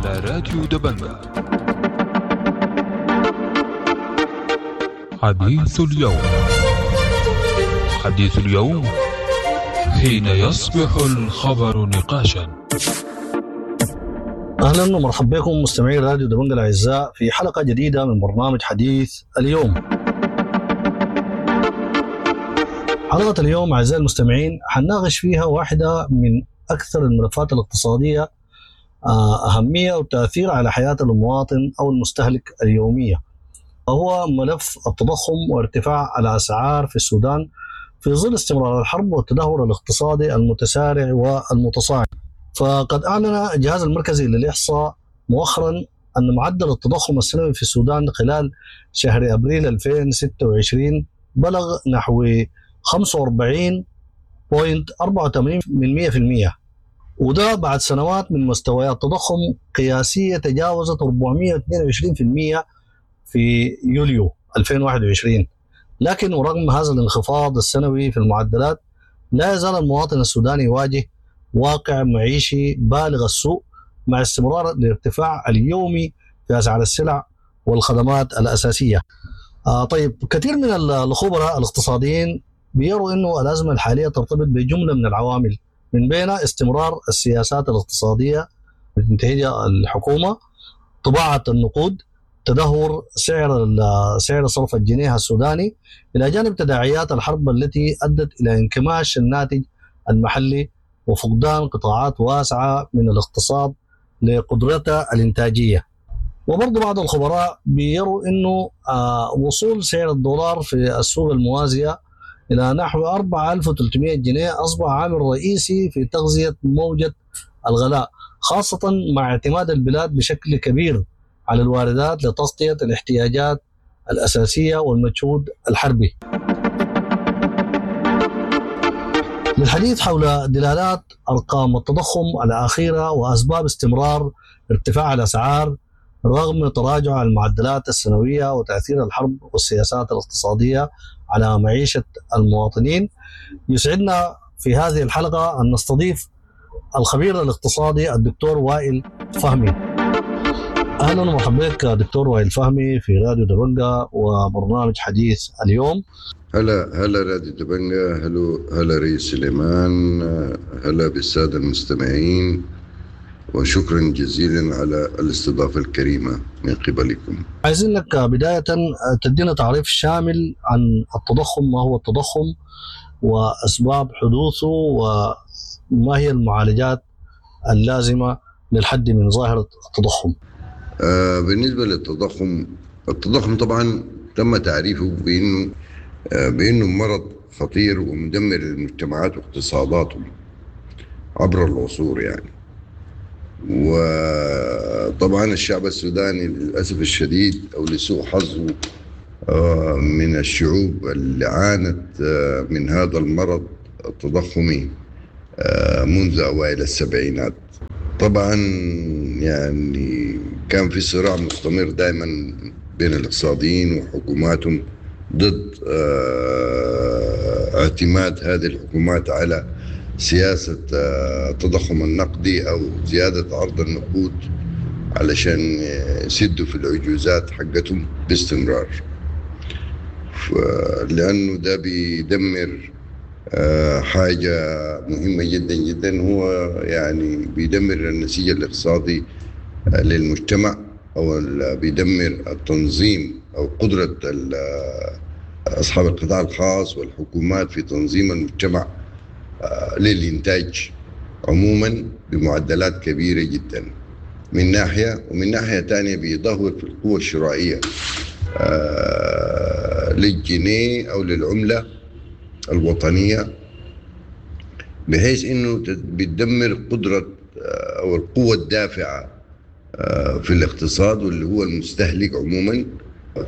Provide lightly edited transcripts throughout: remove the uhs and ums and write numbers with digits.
على راديو دبنجة. حديث اليوم، حديث اليوم حين يصبح الخبر نقاشا. اهلا ومرحبا بكم مستمعي راديو دبنجة الاعزاء في حلقة جديدة من برنامج حديث اليوم. حلقة اليوم اعزائي المستمعين حنناقش فيها واحدة من اكثر الملفات الاقتصادية اهمية وتاثير على حياة المواطن او المستهلك اليومية، وهو ملف التضخم وارتفاع الاسعار في السودان في ظل استمرار الحرب والتدهور الاقتصادي المتسارع والمتصاعد. فقد اعلن الجهاز المركزي للاحصاء مؤخرا ان معدل التضخم السنوي في السودان خلال شهر ابريل 2026 بلغ نحو 45.84 من 100%، وده بعد سنوات من مستويات تضخم قياسية تجاوزت 422% في يوليو 2021. لكن ورغم هذا الانخفاض السنوي في المعدلات، لا يزال المواطن السوداني يواجه واقع معيشي بالغ السوء مع استمرار الارتفاع اليومي في اسعار السلع والخدمات الاساسية. طيب، كثير من الخبراء الاقتصاديين بيروا انه الازمة الحالية ترتبط بجملة من العوامل، من بينها استمرار السياسات الاقتصادية التي الحكومة، طباعه النقود، تدهور سعر صرف الجنيه السوداني، الى جانب تداعيات الحرب التي ادت الى انكماش الناتج المحلي وفقدان قطاعات واسعة من الاقتصاد لقدرتها الانتاجية. وبرضه بعض الخبراء بيروا انه وصول سعر الدولار في السوق الموازيه الى نحو 4300 جنيه اصبح عامل رئيسي في تغذية موجه الغلاء، خاصة مع اعتماد البلاد بشكل كبير على الواردات لتغطيه الاحتياجات الاساسية والمجهود الحربي. للحديث حول دلالات ارقام التضخم الاخيرة واسباب استمرار ارتفاع الاسعار رغم تراجع المعدلات السنوية وتاثير الحرب والسياسات الاقتصادية على معيشة المواطنين، يسعدنا في هذه الحلقة ان نستضيف الخبير الاقتصادي الدكتور وائل فهمي. اهلا ومرحبا بك دكتور وائل فهمي في راديو دبنجة وبرنامج حديث اليوم. هلا هلا راديو دبنجة، هلا هلا ريس سليمان، هلا بالسادة المستمعين، وشكرا جزيلا على الاستضافة الكريمة من قبلكم. عايزين لك بداية تدينا تعريف شامل عن التضخم، ما هو التضخم وأسباب حدوثه وما هي المعالجات اللازمة للحد من ظاهرة التضخم. بالنسبة للتضخم، التضخم طبعا تم تعريفه بأنه مرض خطير ومدمر للمجتمعات واقتصاداتهم عبر العصور يعني. وطبعا الشعب السوداني للأسف الشديد أو لسوء حظه من الشعوب اللي عانت من هذا المرض التضخمي منذ أوائل السبعينات. طبعا يعني كان في صراع مستمر دائما بين الاقتصاديين وحكوماتهم ضد اعتماد هذه الحكومات على سياسة التضخم النقدي أو زيادة عرض النقود علشان يسدوا في العجوزات حقتهم باستمرار، لأنه ده بيدمر حاجة مهمة جدا جدا، هو يعني بيدمر النسيج الاقتصادي للمجتمع، أو بيدمر التنظيم أو قدرة أصحاب القطاع الخاص والحكومات في تنظيم المجتمع للإنتاج عموما بمعدلات كبيرة جدا من ناحية، ومن ناحية تانية بيدهور في القوة الشرائية للجنيه أو للعملة الوطنية، بحيث إنه بتدمر قدرة أو القوة الدافعة في الاقتصاد واللي هو المستهلك عموما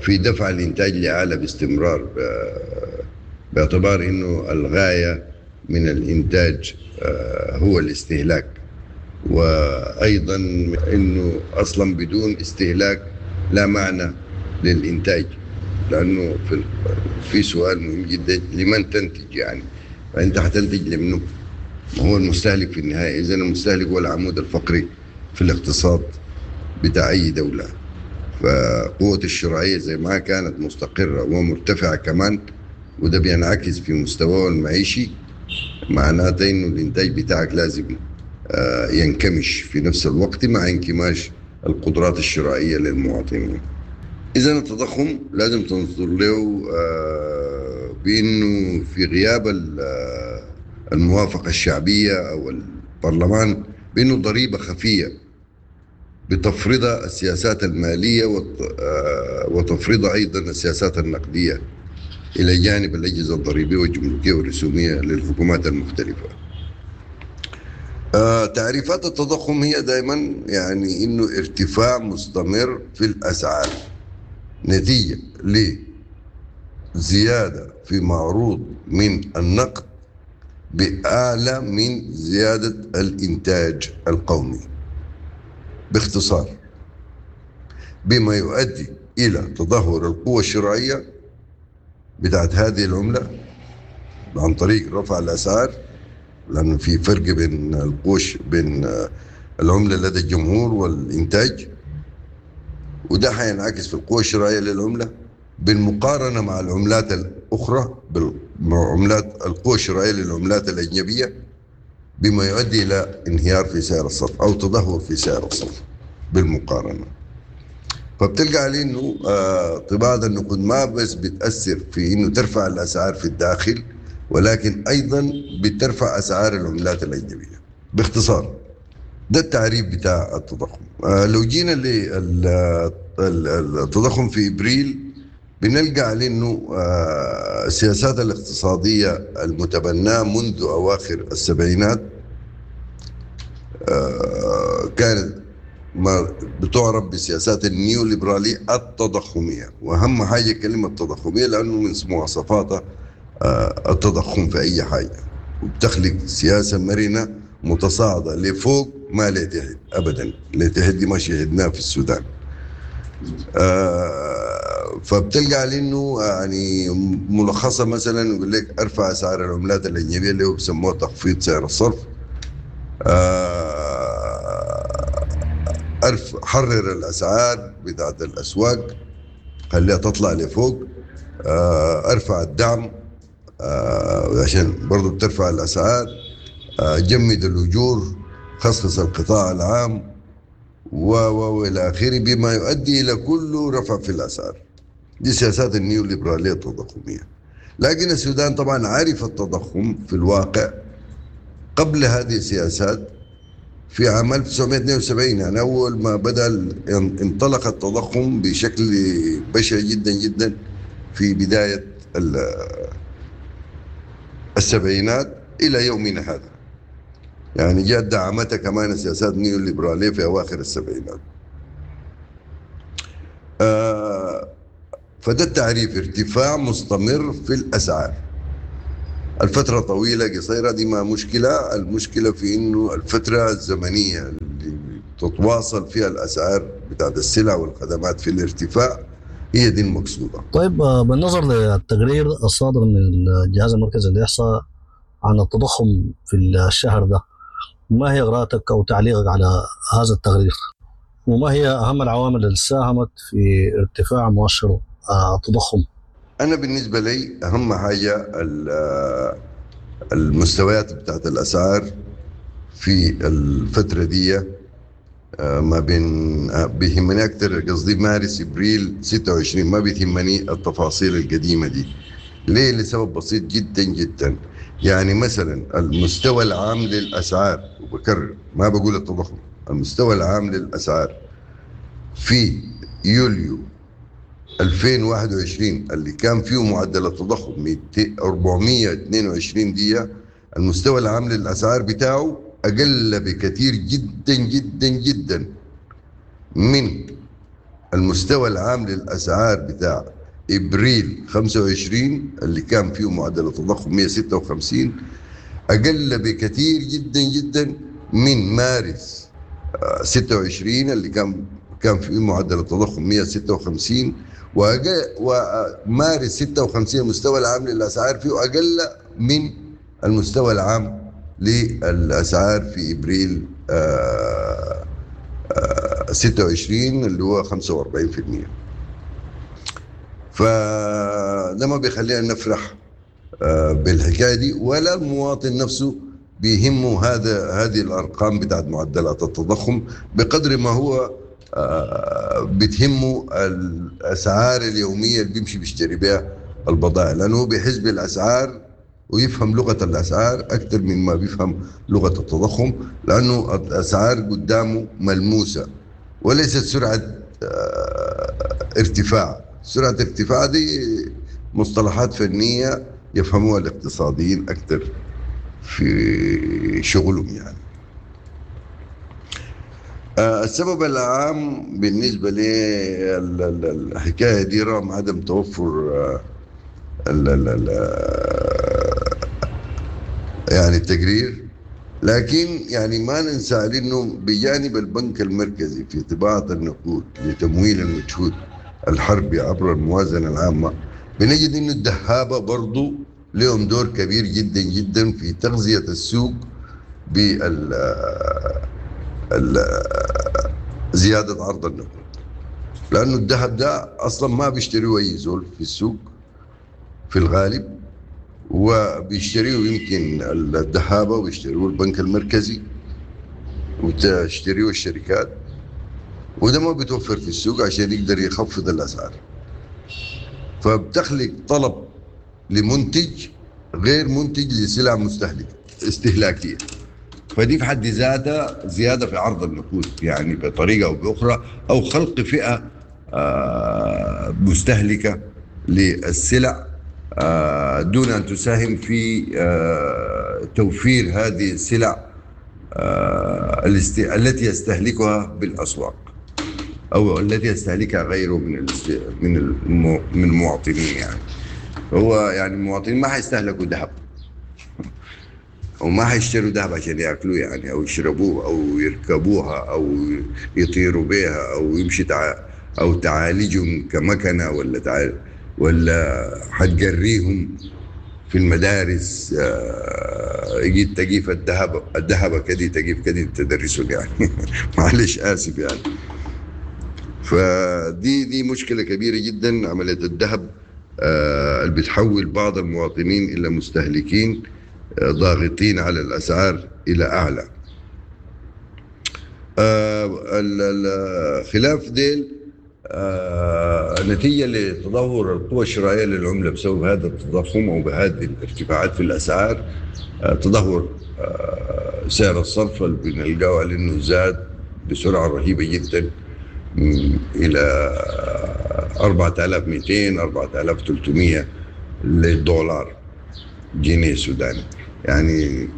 في دفع الإنتاج لأعلى باستمرار، باعتبار إنه الغاية من الإنتاج هو الاستهلاك، وأيضا إنه أصلا بدون استهلاك لا معنى للإنتاج، لأنه في سؤال مهم جدا، لمن تنتج يعني؟ فأنت حتنتج لمنه؟ ما هو المستهلك في النهاية. إذن المستهلك هو العمود الفقري في الاقتصاد بتاع أي دولة. فقوة الشرائية زي ما كانت مستقرة ومرتفعة كمان، وده بينعكس في مستواه المعيشي، معناته إنه الإنتاج بتاعك لازم ينكمش في نفس الوقت مع انكماش القدرات الشرائية للمواطنين. إذا التضخم لازم تنظر له بأنه في غياب الموافقة الشعبية أو البرلمان، بأنه ضريبة خفية بتفرضها السياسات المالية وتفرضها أيضا السياسات النقدية إلى جانب الأجهزة الضريبية والجمركية والرسومية للحكومات المختلفة. تعريفات التضخم هي دائما يعني إنه ارتفاع مستمر في الأسعار نتيجة لزيادة في معروض من النقد بأعلى من زيادة الإنتاج القومي، باختصار بما يؤدي إلى تدهور القوة الشرائية بتاعت هذه العملة عن طريق رفع الأسعار، لأنه في فرق بين القوش بين العملة لدى الجمهور والإنتاج، وده حينعكس في القوة الشرائية للعملة بالمقارنة مع العملات الأخرى، مع عملات القوة الشرائية للعملات الأجنبية، بما يؤدي إلى انهيار في سعر الصرف أو تدهور في سعر الصرف بالمقارنة. فبتلقى عليه إنه طباعة النقود ما بس بتأثر في إنه ترفع الأسعار في الداخل، ولكن أيضا بترفع أسعار العملات الأجنبية. باختصار ده التعريف بتاع التضخم. لو جينا للتضخم في إبريل بنلقى عليه إنه السياسات الاقتصادية المتبناة منذ أواخر السبعينات كانت ما بتعرف بسياسات النيوليبرالية التضخمية، وأهم حاجة كلمة تضخمية لأنه من مواصفاتها التضخم في أي حاجة، وبتخلق سياسة مرنة متصاعدة لفوق ما لتحت أبدا، لتحت دي ما شهدناها في السودان. فبتلقى على إنه يعني ملخصة مثلا يقول لك ارفع أسعار العملات الأجنبية اللي هو بيسموها تخفيض سعر الصرف، حرر الأسعار بتاعت الأسواق خليها تطلع لفوق، ارفع الدعم، عشان برضو بترفع الأسعار، جمد الأجور، خصص القطاع العام وإلى آخره، بما يؤدي إلى كل رفع في الأسعار. دي سياسات النيوليبرالية التضخمية. لكن السودان طبعا عرف التضخم في الواقع قبل هذه السياسات في عام 1972، يعني أول ما بدأ انطلق التضخم بشكل بشع جدا جدا في بداية السبعينات إلى يومنا هذا. يعني جاءت دعمتها كمان السياسات النيوليبرالية في أواخر السبعينات. فده التعريف، ارتفاع مستمر في الأسعار. الفترة طويلة قصيرة دي ما مشكلة، المشكلة في إنه الفترة الزمنية اللي تتواصل فيها الأسعار بتاعت السلع والخدمات في الارتفاع هي دي المقصودة. بالنظر للتقرير الصادر من الجهاز المركزي للإحصاء عن التضخم في الشهر ده، ما هي قراءتك أو تعليقك على هذا التقرير؟ وما هي أهم العوامل اللي ساهمت في ارتفاع مؤشر التضخم؟ أنا بالنسبة لي أهم حاجة المستويات بتاعت الأسعار في الفترة دي، ما بين، بيهمني أكتر قصدي مارس إبريل 26، ما بيهمني التفاصيل القديمة دي. ليه؟ لسبب بسيط جدا جدا. يعني مثلا المستوى العام للأسعار، وبكرر ما بقول التضخم، المستوى العام للأسعار في يوليو 2021 اللي كان فيه معدل التضخم 422 دية، المستوى العام للأسعار بتاعه أقل بكثير جدا جدا جدا من المستوى العام للأسعار بتاع إبريل 25 اللي كان فيه معدل التضخم 156، أقل بكثير جدا جدا من مارس 26 اللي كان فيه معدل التضخم 156، ومارس 56 المستوى العام للأسعار فيه أقل من المستوى العام للأسعار في إبريل 26 اللي هو 45%. فده ما بيخلينا نفرح بالحكاية دي، ولا المواطن نفسه بيهمه هذه الارقام بتاعت معدلات التضخم بقدر ما هو بتهمه الاسعار اليومية اللي بيمشي بيشتري بها البضائع، لانه هو بيحس بالاسعار ويفهم لغة الاسعار اكثر مما بيفهم لغة التضخم، لانه الاسعار قدامه ملموسة وليست سرعة ارتفاع. سرعة ارتفاع دي مصطلحات فنية يفهموها الاقتصاديين اكثر في شغلهم يعني. السبب العام بالنسبة للحكاية دي رغم عدم توفر ال ال ال يعني التقرير، لكن يعني ما ننسى انه بجانب البنك المركزي في طباعة النقود لتمويل المجهود الحربي عبر الموازنة العامة، بنجد انه الدهابة برضو لهم دور كبير جدا جدا في تغذية السوق بال زيادة عرض النقود، لأنه الذهب ده أصلا ما بيشتريه أي زول في السوق في الغالب، وبيشتريه يمكن الذهابة وبيشتريه البنك المركزي وتشتريه الشركات، وده ما بيتوفر في السوق عشان يقدر يخفض الأسعار، فبتخلق طلب لمنتج غير منتج لسلع مستهلكة استهلاكية، فدي في حد ذاتها زيادة في عرض النقود يعني بطريقة أو بأخرى، أو خلق فئة مستهلكة للسلع دون أن تساهم في توفير هذه السلع التي يستهلكها بالأسواق أو التي يستهلكها غيره من المواطنين. يعني هو يعني المواطنين ما حيستهلكوا ذهب وما حيشتروا ذهب عشان ياكلوه يعني، او يشربوه او يركبوها او يطيروا بها او يمشي او تعالجهم كمكنه ولا ولا حتجريهم في المدارس. يجي تجيف الذهب كدي تجيف كدي تدرسهم يعني معلش اسف يعني. فدي مشكلة كبيرة جدا، عملية الذهب اللي بتحول بعض المواطنين الى مستهلكين ضاغطين على الأسعار إلى أعلى. خلاف ديل نتيجة لتدهور القوى الشرائية للعملة بسبب هذا التضخم أو بهذه الارتفاعات في الأسعار، تدهور سعر الصرف اللي بنلقاه على إنه زاد بسرعة رهيبة جدا إلى 4200 4300 للدولار جنيه سوداني، يعني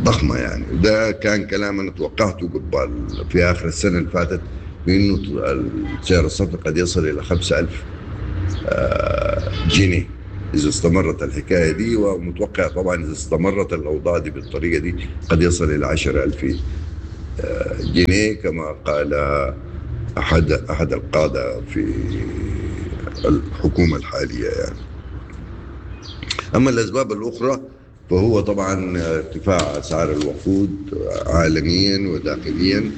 ضخمة يعني. ده كان كلام أنا توقعته قبل في آخر السنة اللي فاتت بأنه سعر الصرف قد يصل إلى 5000 جنيه إذا استمرت الحكاية دي، ومتوقع طبعا إذا استمرت الأوضاع دي بالطريقة دي قد يصل إلى 10000 جنيه كما قال أحد القادة في الحكومة الحالية يعني. أما الأسباب الأخرى فهو طبعا ارتفاع أسعار الوقود عالميا وداخليا،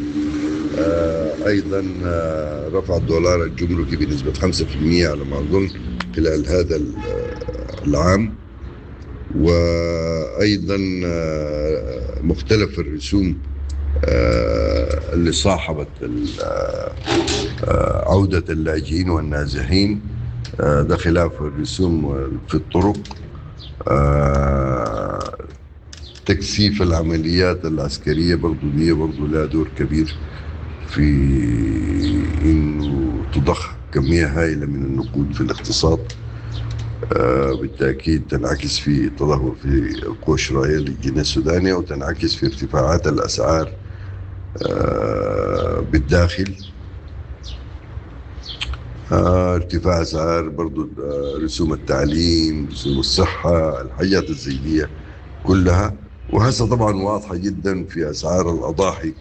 أيضا رفع الدولار الجمركي بنسبة 5% على ما أظن خلال هذا العام، وأيضا مختلف الرسوم اللي صاحبت عودة اللاجئين والنازحين، ده خلاف الرسوم في الطرق، تكثيف العمليات العسكرية برضو دي برضو لها دور كبير في إنه تضخ كمية هائلة من النقود في الاقتصاد، بالتأكيد تنعكس في تدهور في القوى الشرائية للجنيه السوداني، وتنعكس في ارتفاعات الأسعار بالداخل، ارتفاع أسعار برضو رسوم التعليم، رسوم الصحة، الحاجات الزيدية كلها. وهسه طبعا واضحة جدا في أسعار الأضاحي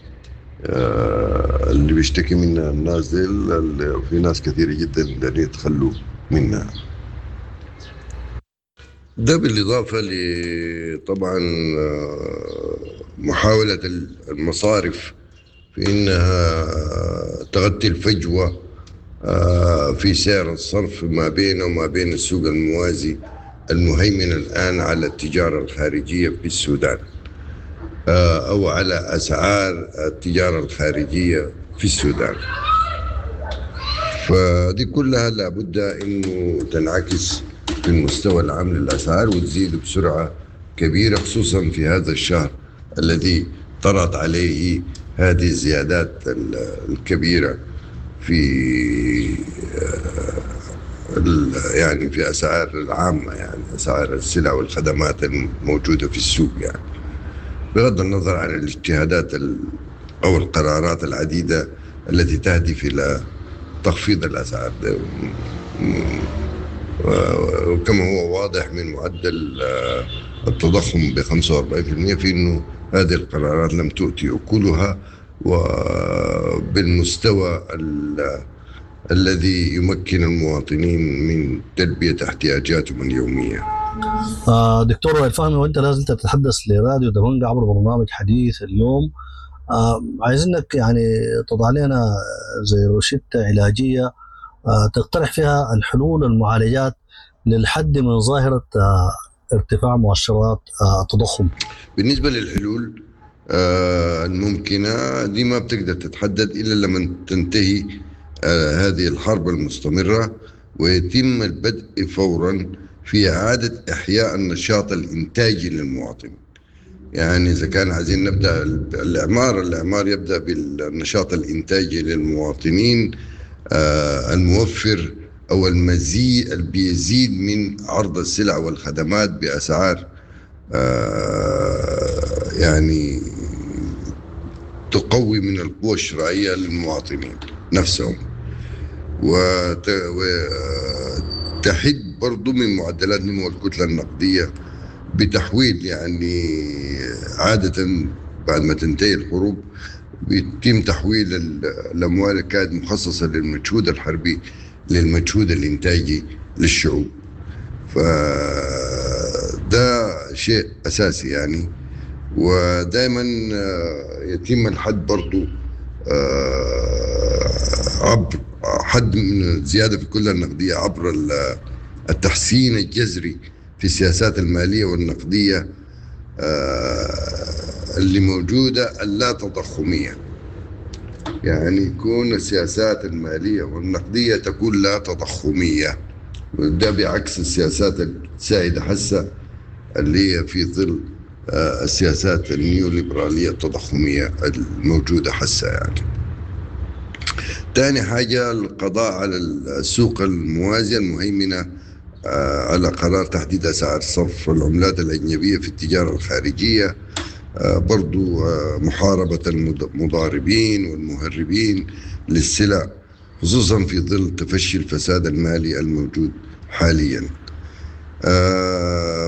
اللي بيشتكي منها الناس ديل، في ناس كثيرة جدا اللي يتخلوا منها. ده بالإضافة لطبعا محاولة المصارف في إنها تغطي الفجوة في سعر الصرف ما بينه وما بين السوق الموازي المهيمن الآن على التجارة الخارجية في السودان، أو على أسعار التجارة الخارجية في السودان. فدي كلها لابد أنه تنعكس في المستوى العام للأسعار وتزيد بسرعة كبيرة، خصوصا في هذا الشهر الذي طرأت عليه هذه الزيادات الكبيرة في يعني في أسعار العامة، يعني أسعار السلع والخدمات الموجودة في السوق، يعني بغض النظر عن الاجتهادات أو القرارات العديدة التي تهدف إلى تخفيض الأسعار، وكما هو واضح من معدل التضخم ب 45% في أنه هذه القرارات لم تؤتي أكلها وبالمستوى الذي يمكن المواطنين من تلبية احتياجاتهم اليومية. دكتور وائل فهمي، وانت لازلت تتحدث لراديو دبنجا عبر برنامج حديث اليوم، عايزينك يعني تضع لنا زي روشتة علاجية تقترح فيها الحلول والمعالجات للحد من ظاهرة ارتفاع مؤشرات التضخم. بالنسبة للحلول الممكنة دي ما بتقدر تتحدد إلا لما تنتهي هذه الحرب المستمرة ويتم البدء فورا في إعادة إحياء النشاط الإنتاجي للمواطن. يعني إذا كان عايزين نبدأ الإعمار يبدأ بالنشاط الإنتاجي للمواطنين الموفر أو المزيد بيزيد من عرض السلع والخدمات بأسعار يعني تقوي من القوة الشرائية للمواطنين نفسهم، وتحد برضو من معدلات نمو الكتلة النقدية بتحويل، يعني عادة بعد ما تنتهي الحروب بيتم تحويل الأموال اللي كانت مخصصة للمجهود الحربي للمجهود الإنتاجي للشعوب. فده شيء أساسي يعني، ودائما يتم الحد برضو عبر حد من الزيادة في الكتلة النقدية عبر التحسين الجذري في السياسات المالية والنقدية اللي موجودة اللا تضخمية. يعني يكون السياسات المالية والنقدية تكون لا تضخمية، وده بعكس السياسات السائدة حسة اللي هي في ظل السياسات النيوليبرالية التضخمية الموجودة حسة يعني. تاني حاجة القضاء على السوق الموازية المهيمنة على قرار تحديد أسعار صرف العملات الأجنبية في التجارة الخارجية، برضو محاربة المضاربين والمهربين للسلع، خصوصا في ظل تفشي الفساد المالي الموجود حاليا،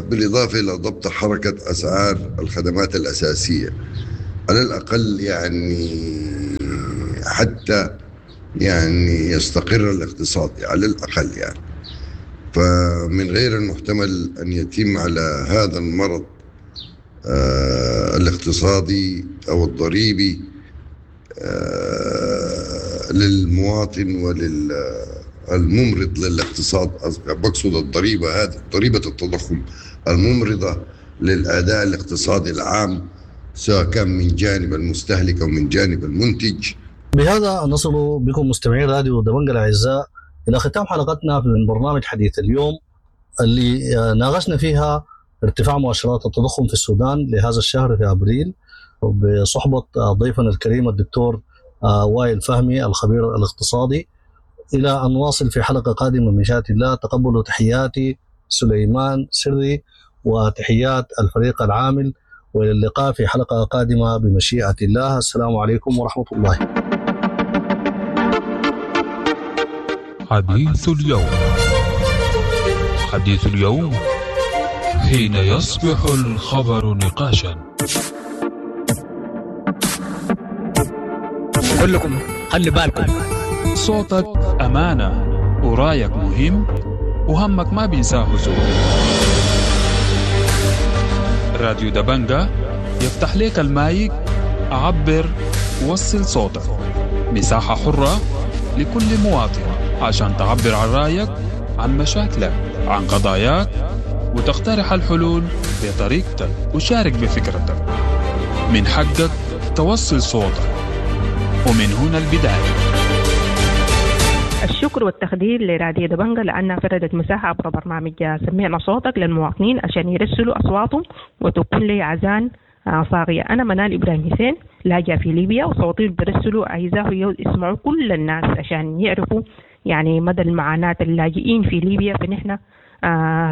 بالإضافة إلى ضبط حركة أسعار الخدمات الأساسية على الأقل، يعني حتى يعني يستقر الاقتصاد على الأقل يعني. فمن غير المحتمل أن يتم على هذا المرض الاقتصادي أو الضريبي للمواطن وللممرض للاقتصاد، بقصد الضريبة هذه ضريبة التضخم الممرضة للأداء الاقتصادي العام، سواء كان من جانب المستهلك أو من جانب المنتج. بهذا نصل بكم مستمعين راديو دبنجا الأعزاء إلى ختام حلقتنا من برنامج حديث اليوم اللي ناقشنا فيها ارتفاع مؤشرات التضخم في السودان لهذا الشهر في أبريل، بصحبة ضيفنا الكريم الدكتور وائل فهمي الخبير الاقتصادي. إلى أن نواصل في حلقة قادمة من شاء الله، تقبلوا تحياتي سليمان سري وتحيات الفريق العامل، وإلى اللقاء في حلقة قادمة بمشيئة الله. السلام عليكم ورحمة الله. حديث اليوم، حديث اليوم حين يصبح الخبر نقاشا. كلكم خلي بالكم، صوتك أمانة ورايك مهم وهمك ما بينساه زول. راديو دبنجا يفتح لك المايك، عبر وصل صوتك. مساحة حرة لكل مواطن عشان تعبر عن رأيك، عن مشاكلك، عن قضاياك، وتقترح الحلول بطريقتك وشارك بفكرتك. من حقك توصل صوتك، ومن هنا البداية. الشكر والتقدير لراديو دبنجة لأنها فردت مساحة عبر برنامج سمعنا صوتك للمواطنين عشان يرسلوا أصواتهم وتكون لي عزان صاغية. أنا منال إبراهيم حسين، لاجئة في ليبيا، وصوتي برسلوا عايزاه يسمعوا كل الناس عشان يعرفوا يعني مدى المعاناة اللاجئين في ليبيا. فنحن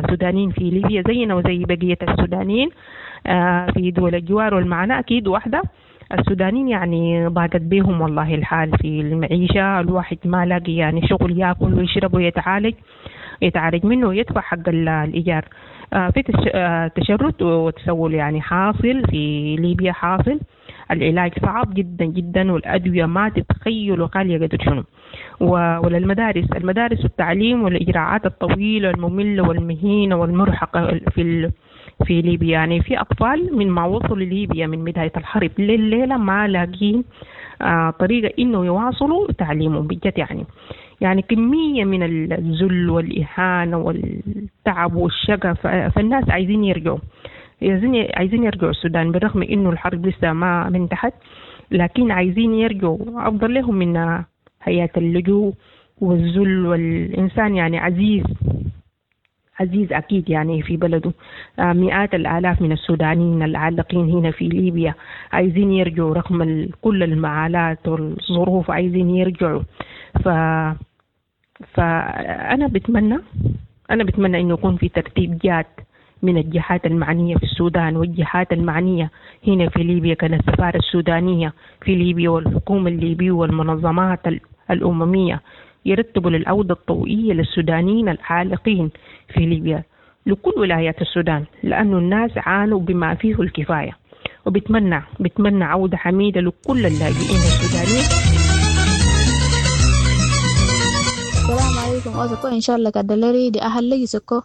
سودانيين في ليبيا زينا وزي بقية السودانيين في دول الجوار، والمعاناة أكيد واحدة. السودانيين يعني ضاقت بيهم والله الحال في المعيشة، الواحد ما لاقي يعني شغل ياكل ويشرب ويتعالج منه ويدفع حق الإيجار. في تشرد وتسول يعني حاصل في ليبيا، حاصل. العلاج صعب جدا جدا، والأدوية ما تتخيلوا غالية قدر شنو. وللمدارس، المدارس والتعليم والإجراءات الطويلة المملة والمهينة والمرهقة في ليبيا. يعني في أطفال من ما وصلوا لليبيا من بداية الحرب لليلة ما لاقين طريقة إنه يواصلوا تعليمهم بجد. يعني كمية من الذل والإهانة والتعب والشقة. فالناس عايزين يرجعوا، عايزين يرجعوا السودان بالرغم إنه الحرب لسه ما انتهت، لكن عايزين يرجعوا، أفضل لهم من حياة اللجوء والذل. والإنسان يعني عزيز عزيز أكيد يعني في بلده. مئات الآلاف من السودانيين العالقين هنا في ليبيا عايزين يرجعوا رغم كل المعالات والظروف، عايزين يرجعوا. فأنا بتمنى إنه يكون في ترتيب جاد من الجهات المعنية في السودان والجهات المعنية هنا في ليبيا، كالسفارة السودانية في ليبيا والحكومة الليبية والمنظمات الأممية، يرتبوا للعودة الطوعية للسودانيين العالقين في ليبيا لكل ولايات السودان، لأنه الناس عانوا بما فيه الكفاية. وبتمنى عودة حميدة لكل اللاجئين السودانيين. السلام عليكم. أوسكو إن شاء الله كدلري دي أهل لي سكو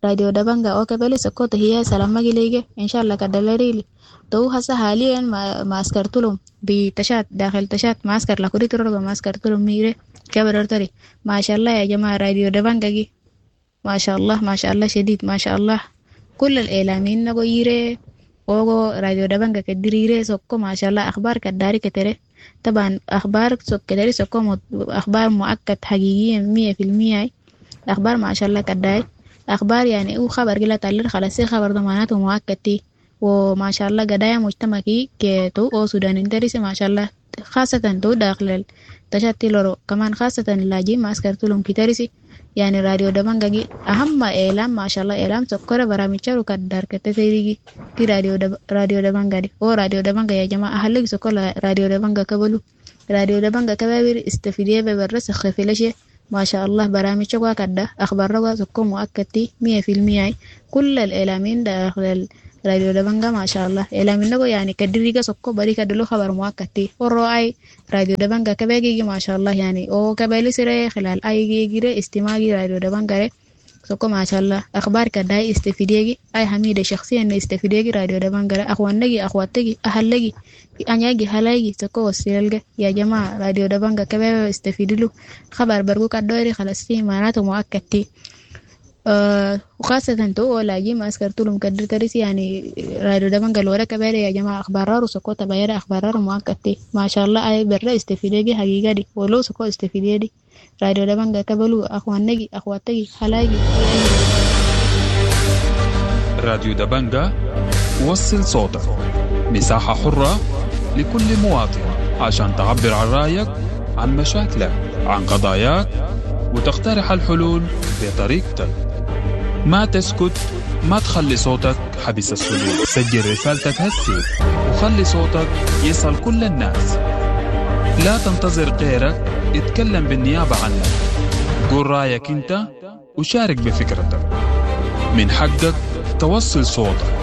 راديو دبنجا أو كبلي سكو تهيا سلام مجليجة إن شاء الله كدلري لي تو هسه حاليا ما عسكرتلهم بتشات داخل تشات معسكر لكوري ترى ما عسكرتلهم ميري كبر تري. ما شاء الله يا جماعة راديو دبنجا جي ما شاء الله ما شاء الله شديد ما شاء الله. كل الإعلاميين نقول وغو راديو دبنجا كدريري سكو ما شاء الله أخبار كداري كتري. طبعا أخبار كداري سكو أخبار مؤكد حقيقيا 100%. أخبار ما شاء الله كداري أخبار يعني أو خبر قلت تعلر خلاص خبر ضماناته مؤكد تي. وما شاء الله قدايا مجتمعي كتو أو سودان انتريس ما شاء الله، خاصة تو داخل تشتي لورو كمان خاصة اللاجئين ما أسكرتلهم كتريسي. يعني راديو دبنجا أهم إعلام ما شاء الله إعلام سكر برامج كدار كتسيري كي راديو دبنجا دي أو راديو دبنجا يا جماعة أهلك سكر راديو دبنجا كبلو راديو دبنجا كبابير استفيديه ببرس خفيلشة ما شاء الله برامج شقوا كده أخبار روا سكر مؤكد 100%. كل الإعلاميين داخل راديو دبنجا ما شاء الله إعلاميين نقول يعني كدريجا سكر بري كدلو خبر مؤكد والرأي راديو دبنجا كباجي ما شاء الله يعني أو كبالي سري خلال أي جيرة استماعي راديو دبنجا سكر ما شاء الله أخبار كده استفيديجي أي حميدة شخصيا استفيديجي راديو دبنجا أخوانجي أخواتجي أهلجي أنياجي هلاجي سكر وسيلجا يا جماعة راديو دبنجا كباب استفيدلو خبر برجو كدوري خلاص فيه معناته مؤكد. وخاصة تو لاجي ما أسكرتلهم كدر ترسي يعني راديو دبنجا الورا كبيرة يا جماعة أخبار سكو تباير أخبار مؤكد ما شاء الله أي برا استفيديجي حقيقة دي ولو سكو استفيديجي راديو دبنجا كبلو أخوانجي أخواتجي هلاجي. راديو دبنجا وصل صوتك، مساحة حرة لكل مواطن عشان تعبر عن رأيك، عن مشاكلك، عن قضاياك، وتقترح الحلول بطريقتك. ما تسكت، ما تخلي صوتك حبس الصدور. سجل رسالتك هسي وخلي صوتك يصل كل الناس. لا تنتظر غيرك يتكلم بالنيابة عنك. قول رأيك انت وشارك بفكرتك. من حقك توصل صوتك،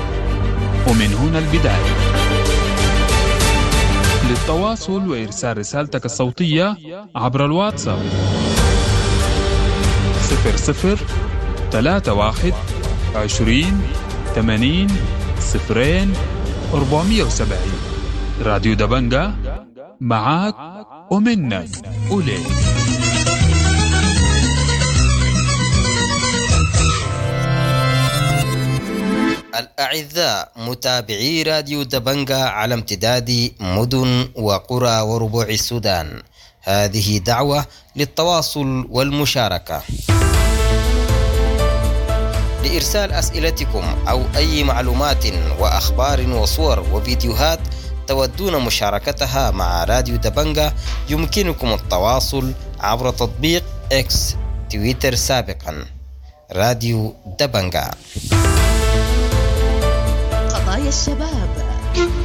ومن هنا البداية. للتواصل وإرسال رسالتك الصوتية عبر الواتساب 00 31 20 80 0 470. راديو دبنجا معاك ومنك وليك. الأعزاء متابعي راديو دبنجا على امتداد مدن وقرى وربوع السودان، هذه دعوة للتواصل والمشاركة لإرسال أسئلتكم أو أي معلومات وأخبار وصور وفيديوهات تودون مشاركتها مع راديو دبنجا. يمكنكم التواصل عبر تطبيق إكس تويتر سابقا راديو دبنجا. قضايا الشباب.